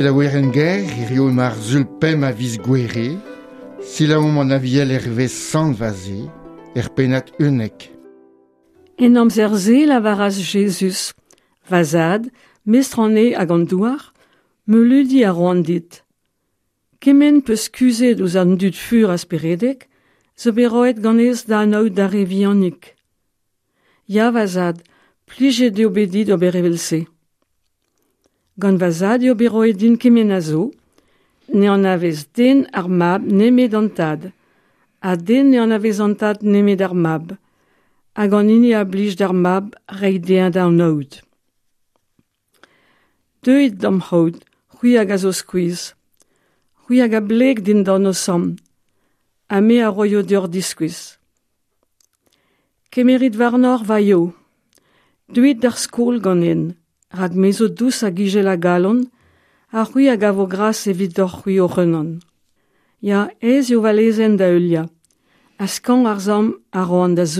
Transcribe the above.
La werenn-gaer, hirio emañ ar Sul pemp a viz Gouere, selaouomp an Aviel hervez Sant Vaze, er pennad 11. En amzer-se e lavaras Jezuz, Va zad, mestr an neñv hag an douar, meuleudi a roan dit. Kement 'peus kuzhet ouzh an dud fur ha speredek, zo bet roet ganez da anaout d'ar re vihanik. Ya, va zad, plijet eo bet dit ober evel-se. Gant va zad eo bet roet din kement a zo, ne anavez den ar mab nemet an tad, ha den ne anavez an tad nemet ar mab, hag an hini a blij d'ar mab reiñ dezhañ da anaout. Deuit d'am c'haout, c'hwi hag a zo skuizh, c'hwi hag a bleg dindan ho samm, ha me a roio deoc'h diskuizh. Kemerit warnoc'h va yeo. Deuit d'ar skol ganen, rak me zo dous hag ijel a galon, ha c'hwi a gavo gras evidoc'h-c'hwi hoc'h-unan. Ya, aes eo va lezenn da heuliañ, ha skañv ar samm a roan da zougen.